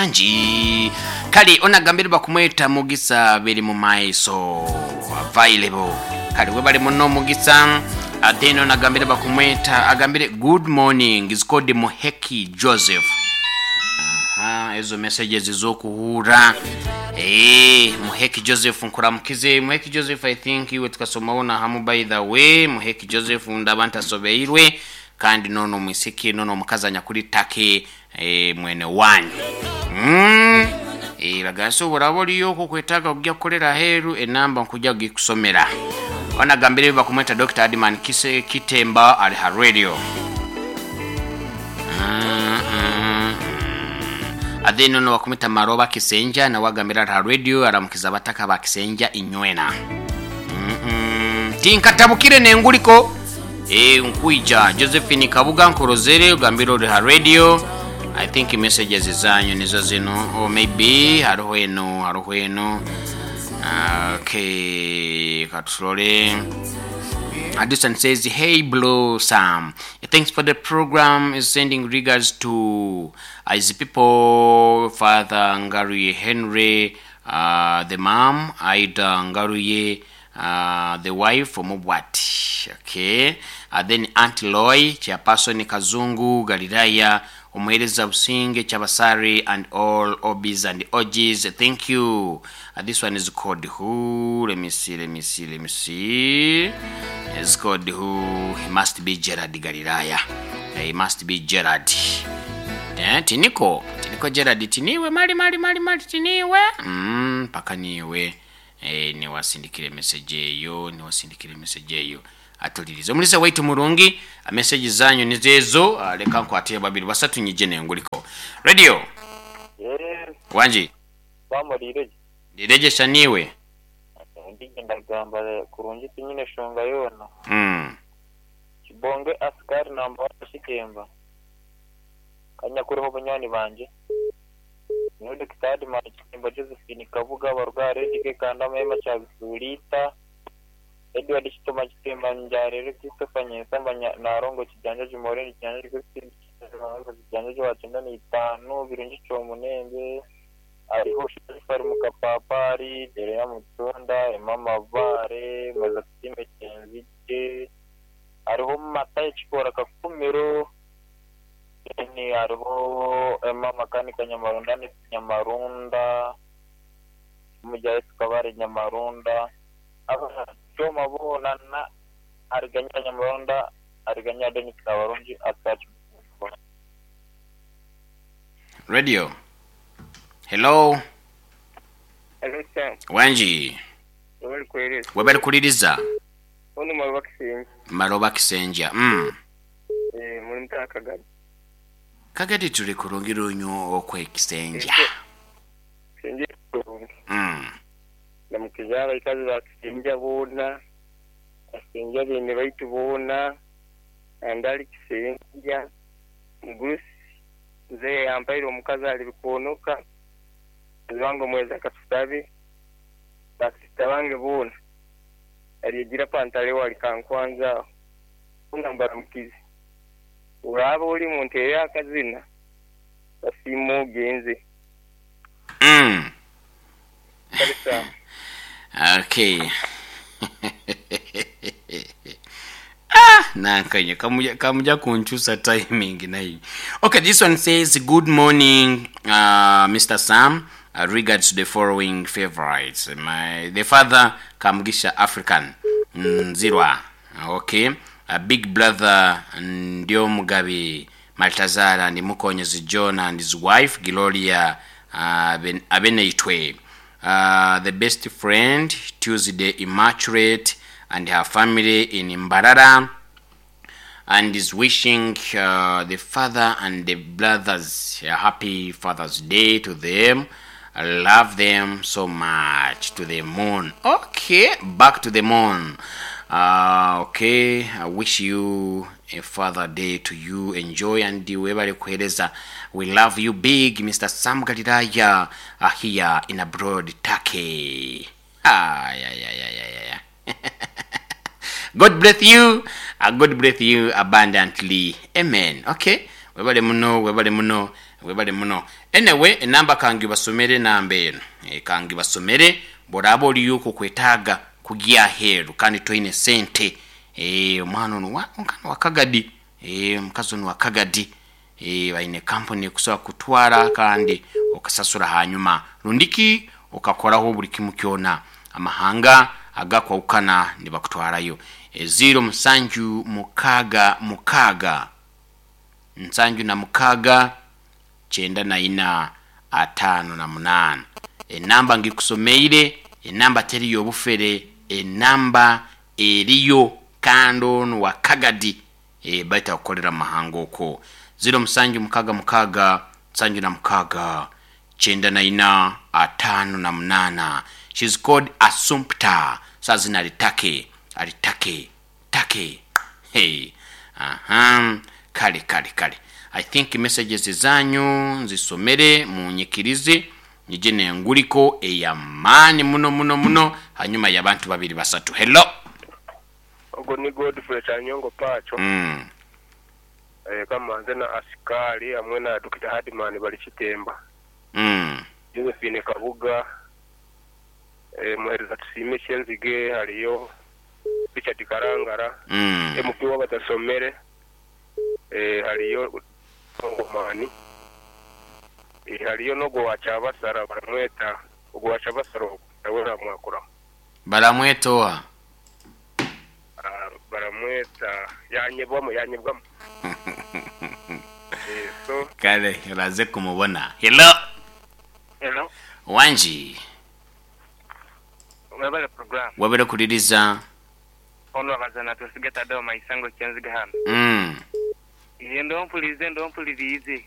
Wangi. Kale ono agambire bakumweta Mugisa biri mu maiso available. Kale webale muno Mugisa. Then ono agambire bakumweta agambire good morning is called Muheki Joseph. Aha, ezo messages z'okuhuura. Eh, Muheki Joseph nkuramukize. Muheki Joseph I think iwe tukasomaho na hamu by the way. Muheki Joseph ndaba ntasobeirwe kandi nono omwisiki nono omukazi anyakuri Turkey eh, mwene wanyu. Mm. Eh, bagasi oburaba oriyo okwetaaga kugya kukorera aheeru enamba nkujya kugikusomera. Ono agambire bakumweta Dr. Adman Kise Kitemba ali ha radio. Mm, mm, mm. Then ono bakumweta Maroba Kisenja nawe agambire ali ha radio aramukiza abataka ba Kisenja inywena. Mm -mm. Tinkatabukire nenguliko nkwija Josephine Kabuga nkurozere ogambire ori ha radio. I think messages zanyu nizo zino or maybe hariho eno hariho eno. Okay, katurole. Addison says, hey Blue Sam, thanks for the program. Is sending regards to his people, Father Ngaruye Henry, the mom, Ida Ngaruye, the wife, Mubwati. Okay. Then Aunt Loy, Chairperson Kazungu, Galilaya, Omuhereza Businge, Chabasari, and all OBs and OGs. Thank you. This one is called who? Let me see, let me see, let me see. It's called who? He must be Gerard Galilaya. He must be Gerard. Tiniko. Tiniko Gerard. Tiniwe, mali, mali, mali, mali, tiniwe. Paka niwe. Niwasindikire message eyo, niwasindikire message eyo. Atulirize. Omulisa waitu murungi, message zanyu nizezo, leka nkwate babiri basatu nyije nenguliko. Radio. Yes. Wanji. Bamulire. Ndirejesha niwe. Ndagamba kurungi tinyine shonga yona. Kibonge askari namba shitemba. Kanyakuriho bunywani banje. Niwe Dr. Makitemba Josephine Kabuga barugare dike kanda mema cha bisulita. Edward Kitoma Kitemba Njarere Christopher Nyensamba Narongo Kijanja Jumoreni Kijanja Christine Kijanja Wacenda ni itanu Birungi Kyomunembe ariho Shafari Mukapapari Dereya Mutunda Emama Vare Mazatime Kenzige ariho Matayi Kikora Kakumiro ni ariho Emma Makanika Nyamarunda ni Nyamarunda Mujayi Kabare Nyamarunda Choma bona na ariganya Nyamarunda ariganya Denis Kabarungi atachi. Radio. Hello. Hello sir. Wanji. Webali kueleza. Webali kuliriza. Ono Maroba Kisenja. Maroba Kisenja. Muri mtaa Kagadi. Kagadi tuli kurungira onyo okwe Kisenja. Kisenja kurungi. Namukizara ikazi ba Kisenja bona. Kisenja bene baitu bona. Andali Kisenja. Mugurusi. Nze yampaire omukazi ali bikonoka. Wango mweza katusabe. Bakisita bange bona. Aligira pantale wali kankwanza. Unambara mukizi. Uraba uri muntu yari akazina. Basimo genze. Kalisa. Okay. Nankanye kamuja kunchusa timing nayo. Okay, this one says good morning Mr. Sam. Regards to the following favorites. The father Kamugisha African Nzirwa. Okay. Big brother Ndio Mugabe Maltazara and Mukonyezi John and his wife Gloria Abeneitwe. The best friend Tuesday Immaculate and her family in Mbarara, and is wishing the father and the brothers a happy Father's Day to them. I love them so much. To the moon. Okay, back to the moon. Okay, I wish you a Father Day to you. Enjoy and webale kueleza. We love you big, Mr. Sam Galilaya, here in abroad Turkey. Yeah. God bless you. God bless you abundantly. Amen. Okay. Webale muno, webale muno. Webale muno. Anyway, enamba kangibasomere, enamba eno kangibasomere. Bworaba oliyo okwetaaga kugya aheeru kandi toine sente, omwana ono omwana wa Kagadi, omukazi ono wa Kagadi, baine kampuni ekusobola kutwara kandi okasasura hanyuma rundiki okakoraho buli kimu kyona. Amahanga agakwahukana nibakutwarayo. 0 7 6 6 76 94 58. Enamba ngikusomeire, enamba teri y'obufere, enamba eriyo kandi onu wa Kagadi, baitu akukolera mu mahanga okwo. 0 7 6 6 76 94 58. She's called Assumpta. Saa zino ali Turkey, ali Turkey, Turkey. Hey, aha, kale kale kale. I think messages zanyu nzisomere, munyikirize nyije nenguliko eyamaani muno muno muno hanyuma y'abantu babiri basatu. Hello. Ogwo ni Godfrey Kyanyongo Pacho. Kamanze na Asikari hamwe na Dokita Hardman bali Kitemba. Josephine Kabuga, Muhereza Tusiime Kyenzige, haliyo Richard Karangara, MP w'abatasomere, haliyo Ngomani, haliyo n'ogwo wa Kyabasara baramweta, ogwo wa Kyabasara ogwo nawe namwakuraho. Baramweta oha? Baramweta yanyebwamu, yanyebwamu. So Kale oraze kumubona. Hello. Hello. Wangi. Webale program. Webale kuliriza. Ono akazana twesige Tadeo Maisango Kyenziga hano. Iye ndompulirize ndompulirize.